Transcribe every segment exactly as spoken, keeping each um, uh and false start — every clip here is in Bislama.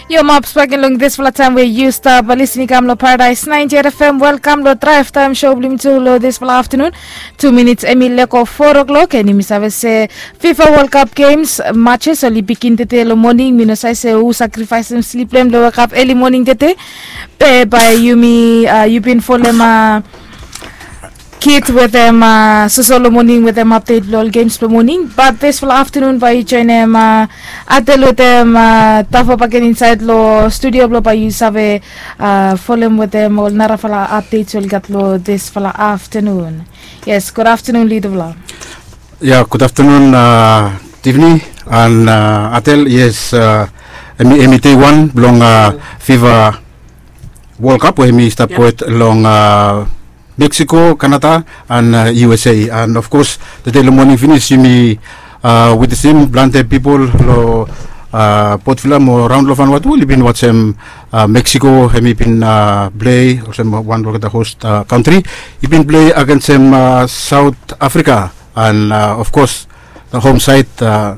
Yu maps bagen long dispela taim we yu stap lisin i kam long Paradise ninety-eight F M. Welkam long Drive Time Show bilong yumi tu long dispela afternoon. Two minutes em i leko four o'clock, and yumi save se FIFA World Cup games matches oli begin tete long morning. Mi no save se hu sacrifice em sleep lem long wake up early morning tete. Be by yumi uh, you been follow uh, kit wetem uh, sosolo morning wetem update bilong ol games bilong morning, but dispela afternoon bai yu joinim uh, atel wetem uh, tafo baken inside lo studio bilong bai yu save uh, folem wetem ol narafala updates ol gat lo dispela afternoon. Yes, good afternoon, lidovla. Ya, good afternoon uh, Tiffany and uh, atel. Yes, uh, emi emi day one bilong uh, fifa World Cup we emi stap wet long uh, Mexico, Canada, and uh, U S A. And of course, tete long morning finish yumi uh, witnessing planti people lo uh, Port Vila mo raun lo Vanuatu oli bin watchem uh, Mexico hemi bin uh, play olsem wan lo the host uh, country. I bin play against um, uh, South Africa, and uh, of course the home side uh,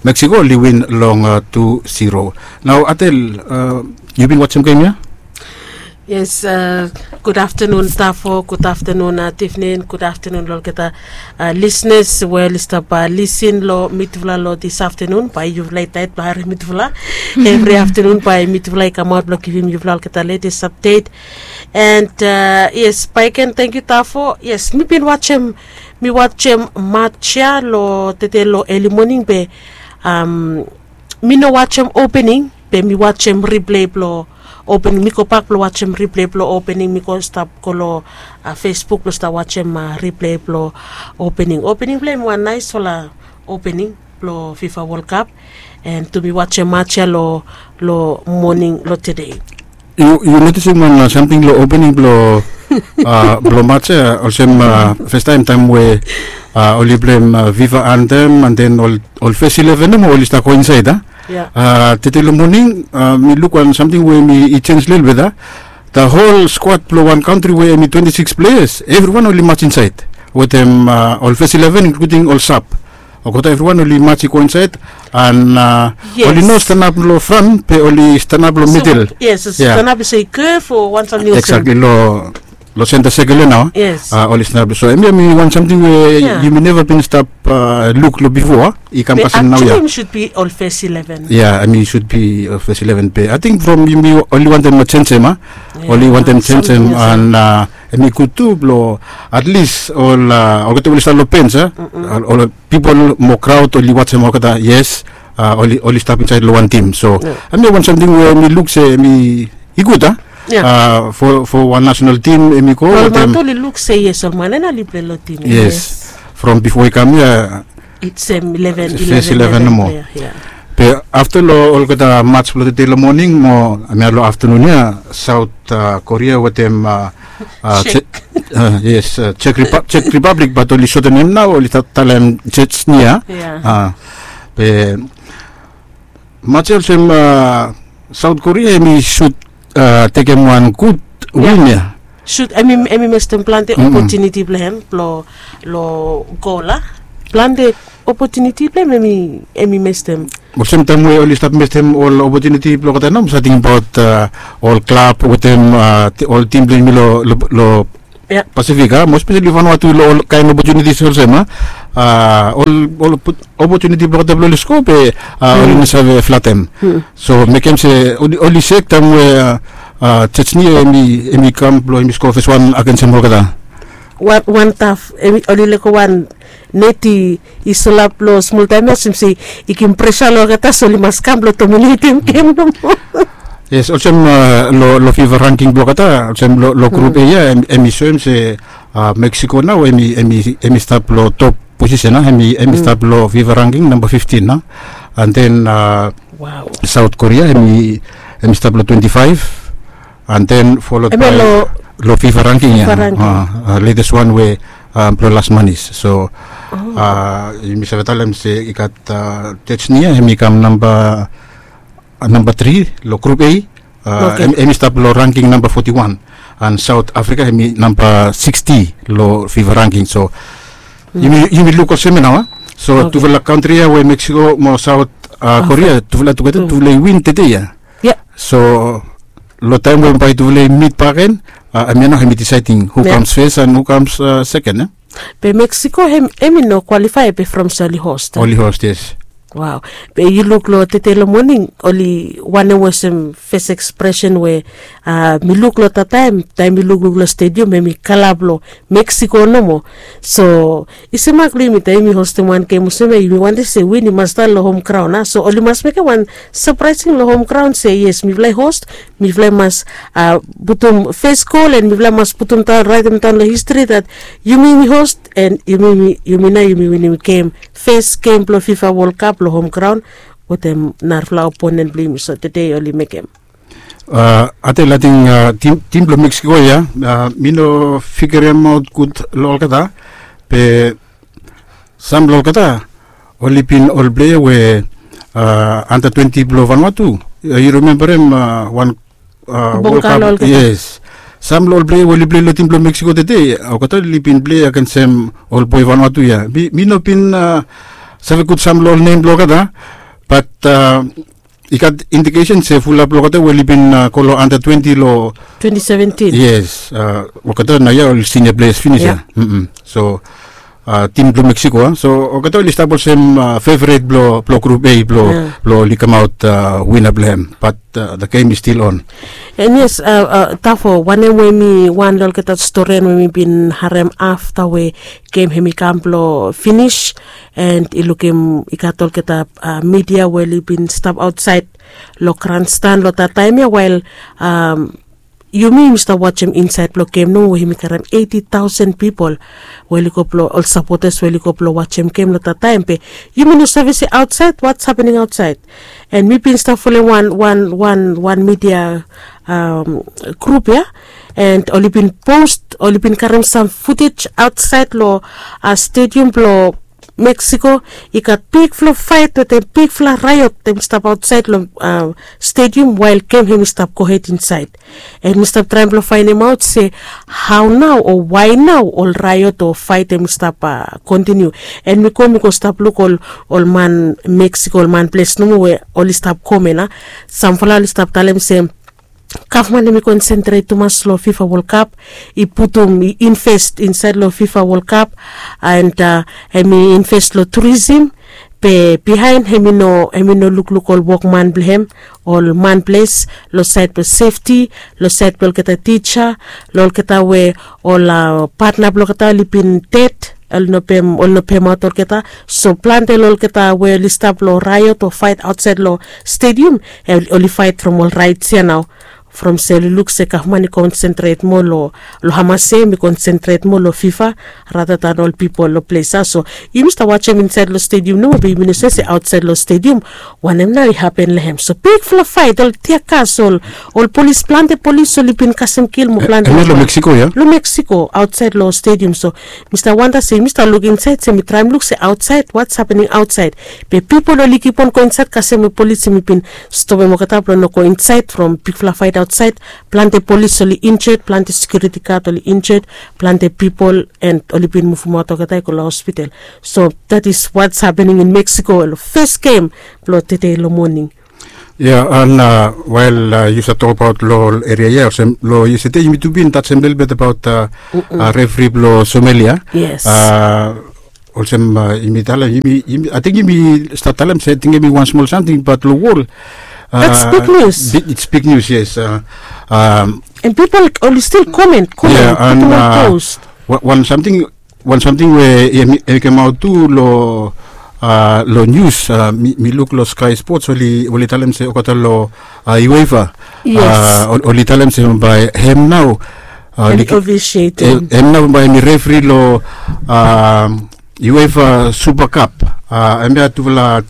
Mexico oli win long uh, two zero. Now Atel, uh, you bin watchem game ya? Yes, uh, good afternoon Tafo, good afternoon uh, Tiffany, good afternoon lo olgeta uh, listeners we oli stap uh, listen lo mitufala lo this afternoon. Bai yufala i tait bai harim mitufala. Every afternoon bai mitufala i kamaut blo givim yufala olgeta latest update. And uh, yes, bai ken thank you Tafo. Yes, mi bin watchem mi watchem match ya lo tete lo early morning be um, mi no watchem opening be mi watchem replay blo opening. Mi go bak blo watchem replay blo opening. Mi go stap go lo uh, Facebook blo stap watchem uh, replay blo opening. Opening blo em wan naisfala opening blo FIFA World Cup. And tu mi watchem match ya lo lo morning lo today. Yu notisim wan samting long opening bilong bilong match ya olsem, festaim taim we oli pleim viva antem and then ol fes eleven em oli stap go insait a. Tete long moning mi luk wan samting we mi i chens lelbet a. The whole squad bilong wan kantri we em i twenty six players, evriwan oli mats insait wetem ol fes eleven inkluting ol sap. Olgeta evriwan oli mats i go insait. An oli no stanap long fran be oli stanap long midel. Yes, stanap i se i kef o wan samting olsem. Eksakli long long senta sekel ya nau. Yes. Oli stanap so em ya mi wan samting we yumi neva bin stap luk long bipo a. I kam kasem nau ya. Actually em should be ol fes eleven. Ya em i should be ol fes eleven be ating from yumi oli wantem jenjem a. Oli wantem jenjem an em i gut tu bilong at least ol olgeta oli stap long pens a. Ol pipol mo kraut oli watsem olgeta yes. Oli oli stap insait long wan tim so em ya wan samting we mi luk se mi i gut a. Fo fo wan nasenal tim em i go watem. Oli luk se yes ol man en oli plei long tim. Yes. From bifo i kam ya it's em eleven eleven eleven nomo. Be afta long olgeta mats bilong tete long moning mo em ya long aftanun ya saut korea wetem chek yes chek repablik bat oli sotem em nau oli talem chechnia. Be mats ya olsem saut korea em i sut tekem wan gut win ya. Sut em i mestem plante opotuniti bilong em long gol a. Plante opotuniti bilong em em i mestem. Olsem taim we oli stap mestem ol opotuniti bilong olgeta nau mi save tingbaut ol klab wetem ol tim bilong yumi long pasifik a mo spesali fanua tu long ol kain opotunitis olsem a. Ol ol opotuniti bilong olgeta bilong oli sko be oli no save flatem. So mekem se oli sek taim we church ni em i kam bilong em i sko fes wan agensim olgeta. Wan taf oli leko wan net i solap long smol taim ya olsem se i gim presa long olgeta so oli mas kam bilong dominetim gem nomo. Yes, olsem long fifa ranking bilong olgeta olsem long grup a ya em i soem se meksiko nau em i stap long top posisen a em i stap long fifa ranking namba fiftin a. And then saut korea em i stap long twenti faiv. And then folod bai long fifa ranking ya. Letes wan we bilong las manis so yumi save talem se i gat chechnia em i kam namba namba tri long grup a. Em i stap long ranking namba foti wan. And saut afrika em i namba siksti long fifa ranking so yumi luk olsem ya nau a. So tufala kantri ya we meksiko mo saut korea tufala tugeta tufala i win tete ya. So long taem we bae tufala i mit baken, hemia nao hem i disaeding hu kams fes and hu kams seken. Be Meksiko hem i no kwalifae be from se oli host. Oli host, yes. Wow. Be yu luk long tede long moning, oli wanem olsem fes ekspresen we mi luk long tataem taem mi lukluk long stedium hem i kala blong Meksiko nomo. So i se mak long yumi taem yumi hostem wan gem olsem ya yumi wantem se win i mas stap long hom graon a, so oli mas mekem wan sapraesing long hom graon se yes mifala i host, mifala i mas putum fes gol and mifala i mas putum daon raetem daon long histri dat yumi mi host and yumi nao yumi winim gem, fes gem blong fifa wol kap long hom graon wetem narafala oponen blong yumi. So tede oli mekem. Ating ating tim blong meksiko ya, mi no figeremaot gud long olgeta. Be sam long olgeta oli bin ol plea we anda twenti blong vanua tu. Yu rimembarem wan wol kap? Yes. Sam long ol plea we oli plei long tim blong meksiko tede olgeta oli bin plei agensem ol boe vanua tu ya. Mi no bin save gud sam long ol nem blong olgeta, bat i gat indikesen se fulap blong olgeta we oli bin go long anda twenti long twenti seventin. Yes. Olgeta naoia oli sinia pleas finis ya. So tim blong meksiko a, so olgeta oli stap olsem feveret blong grup a blong oli kamaot wina blong hem. Bat the gem is stil on. And yes, tafo wanem we mi wan long olgeta storian we mi bin harem afta we gem hem i kam blong finis, and i lukim i gat olgeta midia we oli bin stap aotsaed long granstan long dat taem ya wael yumi yumi stap wajem insaed blong gem nomo we yumi karem eiti taosen pipol we oli go blong ol sapotas we oli go blong wajem gem long dat taem be yumi no save se aotsaed wats hapening aotsaed. And mi bin stap folem wan wan wan wan midia grup ya, and oli bin post oli bin karem sam futej aotsaed long stedium blong meksiko. I gat bigfala faet wetem bigfala raiot hem i stap aotsaed long stedium wael gem hem i stap gohed insaed. And mi stap traem blong faenemaot se hao nao o wae nao ol raiot o faet hem i stap kontiniu. And mi go mi go stap luk ol ol man meksiko ol man ples nomo we oli stap komen a, samfala oli stap talem se gavman hem i konsentret tumas long fifa wol kap, i putum i invest insaed long fifa wol kap, and hem i invest long turisim. Be bihaen hem i no hem i no lukluk ol wokman blong hem, ol man ples, long saed blong sefti, long saed blong olgeta tija, long olgeta we ol patna blong olgeta oli bin ded, oli no pemaot olgeta. So plante long olgeta we oli stap long raiot o faet aotsaed long stedium, oli faet from ol raets ya nao, from se oli luk se gavman i konsentret moa long hamas ya hem i konsentret moa long fifa rata dan ol pipol long ples ya. So yumi stap wajem insaed long stedium nomo be yumi no save se aotsaed long stedium wanem nao i hapen long hem. So bigfala faet ol tiakas ol ol polis plante polis oli bin kasem kil mo plante. Long meksiko ya? Long meksiko aotsaed long stedium. So mi stap wanda se mi stap luk insaed se mi traem luk se aotsaed wats hapening aotsaed. Be pipol oli kipon go insaed kasem we polis hem i bin stopem olgeta blong no go insaed from bigfala faet aotsaed. Plante polis oli injed, plante sekiuriti gad oli injed, plante pipol, and oli bin muvumaot olgeta i go long hospital. So dat is wats hapening in meksiko long fes gem blong tede long moning. Ya, and wael yu save tokbaot long ol eria ya olsem long yestede yumi tu bin tajem lelebet abaot refri blong somalia. Yes. Olsem yumi talem yumi ating yumi stap talem se ating yumi wan smol samting bat long wol. That's big news. It's big news, yes. And people oli stil comment comment putum wan post. Wan samting wan samting we i kemaot tu long long nius, mi luk long skai spots oli talem se olgeta long uefa, oli talem se bae hem nao hem nao bae hem i refri long uefa supa kap. Hemia tufala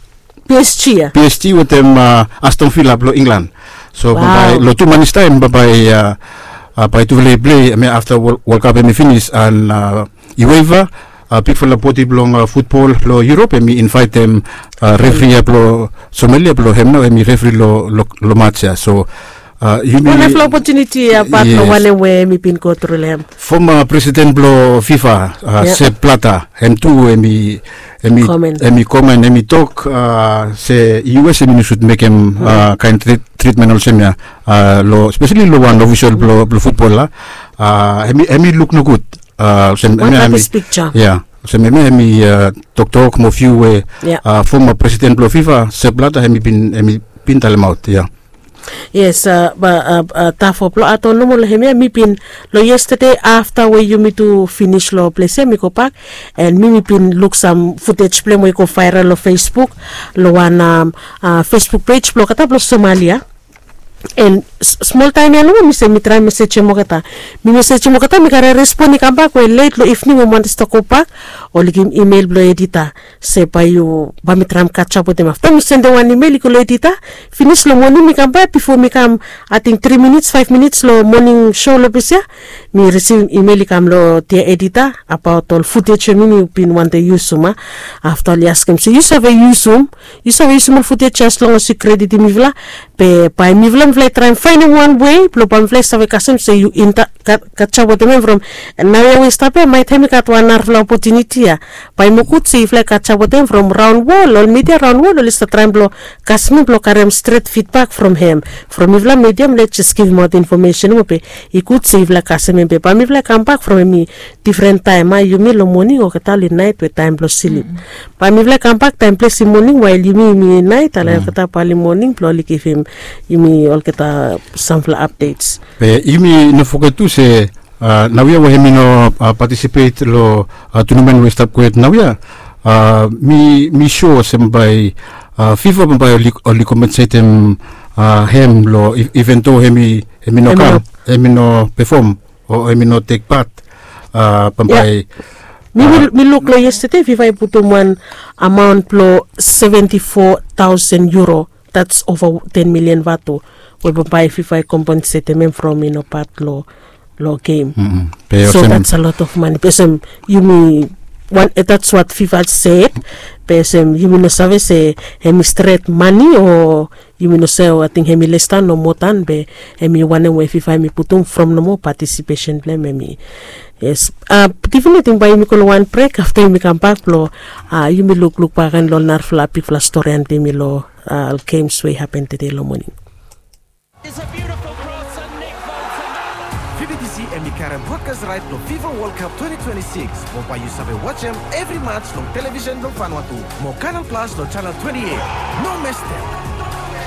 psg ya psg wetem aston vila blong inglan. So bambae long tu manis taem bambae bae tufala i plei hemia afta wol kap hem i finis an uefa bigfala bodi blong futbol long yurop hem i invaetem refri ya blong somalia blong hem nao hem i refri long mats ya. So yumi wan nafala opotuniti ya bat long wanem we hem i bin go tru long hem. Foma presiden blong fifa, sep plata, hem tu hem i Em i komen, em i tok se US em i no sud mekem kaen tritmen olsem ya, long spesali long wan ofisol blong futbol ya. Em i luk nogud. Olsem em ya em i toktok mo fiu we foma presiden blong FIFA, Sepp Blatter, em i bin talemaot ya. Yes, tafo blong ato nomo long hem ya mi bin, long yestade afta we yumi tu finis long ples ya mi gobak, and mi mi bin luk sam futej blong hem we i go vaeral long Facebook, long wan fesbuk pej blong olgeta blong Somalia. And smol taem ya nomo mi se mi traem mesejem olgeta. Mi mesejem olgeta, mi karem respon i kambak we let long ivning we mi wantem stap gobak, oli givim imel blong edita se bae yu bae mi traem katjap wetem. Afta mi sendem wan imel i go long edita. Finis long moning mi kambak, bifo mi kam ating tri minits faef minits long moning so long ples ya, mi risivim imel i kam long dia edita abaot ol futej we mi mi bin wantem yusum. Afta oli askem se yu save yusum, yu save yusum ol futej ya as long as yu kreditim mifala. Be bae mifala mifala i traem faenem wan wei blong bae mifala i save kasem se yu katjap wetem hem from naoia we i stap ya, maet hem i gat wan narafala opotuniti ya. Bae i moa gud se yufala i katjap wetem hem from raon wol, ol midia raon wol oli stap traem blong kasem hem blong karem stret fidbak from hem. From mifala midia mifala i jes givimaot infomesen nomo be i gud se yufala i kasem hem. Be bae mifala i kambak from hem i difren taem. Yumi long moning, olgeta oli naet we taem blong slip. Bae mifala i kambak taem ples i moning wael yumi yumi naet, ale olgeta bae oli moning blong oli givim yumi olgeta samfala apdets. Be yumi no foget tu se naoia we hem i no patisipet long tunamen we i stap gohed naoia, mi sua olsem bae FIFA bambae oli kompensetem hem long iven do hem i no kam, hem i no pefom o hem i no tek pat bambae. Mi luk long yestade FIFA i putum wan amaon blong seventi fo taosen euro, that's ova ten milian vatu, we bambae FIFA i kompensetem hem from i no pat long gem. So that's a lot of money. Be olsem yumi, that's what FIFA said. Be olsem yumi no save se hem i stret mane o yumi no save, ating hem i lestan o moa dan, be hem i wanem we FIFA hem i putum from nomo patisipesen blong hem hem i. Yes. Tivin, ating bae yumi go long wan brek, afta yumi kambak blong yumi lukluk bak agen long ol narafala bigfala stori antem yumi long ol gems we i hapen tede long moning. It's a beautiful cross and Nick Bolton. Fifa D C em i karem brodkas raet blong FIFA World Cup twenty twenty-six, mo bae yu save wajem evri mats long televisen blong Vanuatu mo Canal Plus long janel twenty-eight. No mestem.